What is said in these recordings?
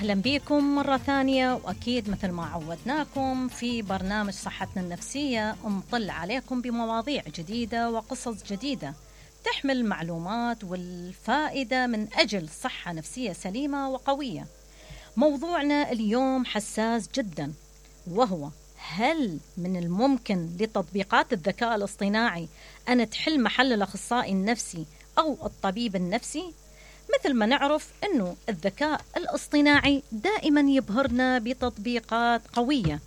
أهلا بكم مرة ثانية، وأكيد مثل ما عودناكم في برنامج صحتنا النفسية نطل عليكم بمواضيع جديدة وقصص جديدة تحمل المعلومات والفائدة من أجل صحة نفسية سليمة وقوية. موضوعنا اليوم حساس جدا، وهو هل من الممكن لتطبيقات الذكاء الاصطناعي أن تحل محل الأخصائي النفسي أو الطبيب النفسي؟ مثل ما نعرف أنه الذكاء الاصطناعي دائما يبهرنا بتطبيقات قوية،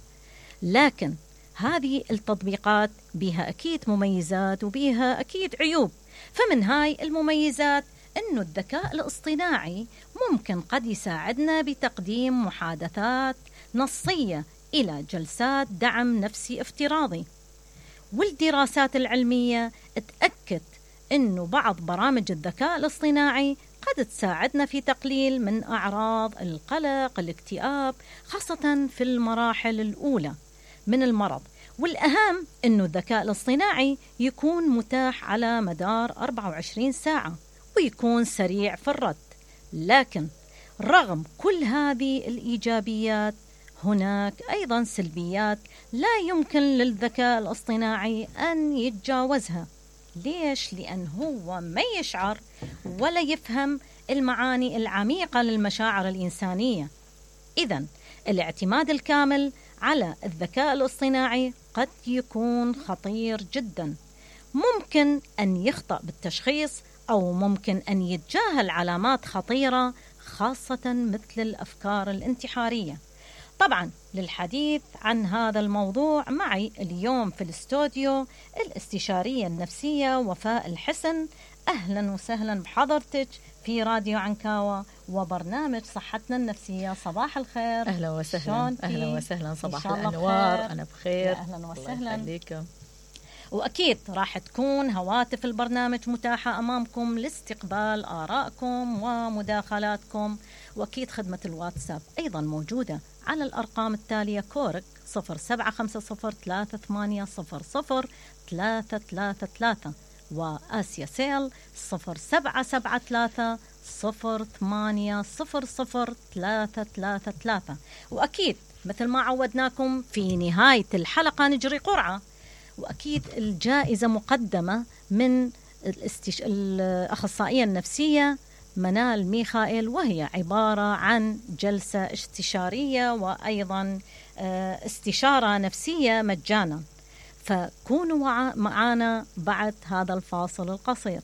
لكن هذه التطبيقات بها أكيد مميزات وبها أكيد عيوب. فمن هاي المميزات أنه الذكاء الاصطناعي ممكن قد يساعدنا بتقديم محادثات نصية إلى جلسات دعم نفسي افتراضي. والدراسات العلمية تأكد أنه بعض برامج الذكاء الاصطناعي قد تساعدنا في تقليل من أعراض القلق، الاكتئاب، خاصة في المراحل الأولى من المرض. والأهم أنه الذكاء الاصطناعي يكون متاح على مدار 24 ساعة ويكون سريع في الرد. لكن رغم كل هذه الإيجابيات هناك أيضا سلبيات لا يمكن للذكاء الاصطناعي أن يتجاوزها. ليش؟ لأن هو ما يشعر ولا يفهم المعاني العميقة للمشاعر الإنسانية. إذن الاعتماد الكامل على الذكاء الاصطناعي قد يكون خطير جدا، ممكن أن يخطئ بالتشخيص أو ممكن أن يتجاهل علامات خطيرة، خاصة مثل الأفكار الانتحارية. طبعا للحديث عن هذا الموضوع معي اليوم في الاستوديو الاستشارية النفسية وفاء الحسن. أهلا وسهلا بحضرتك في راديو عنكاوة وبرنامج صحتنا النفسية. صباح الخير. أهلا وسهلا. أهلا وسهلا، صباح الأنوار. بخير. أنا بخير. أهلا وسهلا. الله يخليكم. وأكيد راح تكون هواتف البرنامج متاحة أمامكم لاستقبال آرائكم ومداخلاتكم، وأكيد خدمة الواتساب أيضا موجودة على الأرقام التالية: كورك 0750-380-00333 وآسيا سيل 0773-0800-333. وأكيد مثل ما عودناكم في نهاية الحلقة نجري قرعة، وأكيد الجائزة مقدمة من الأخصائية النفسية منال ميخائيل، وهي عبارة عن جلسة استشارية وأيضا استشارة نفسية مجانا. فكونوا معنا بعد هذا الفاصل القصير.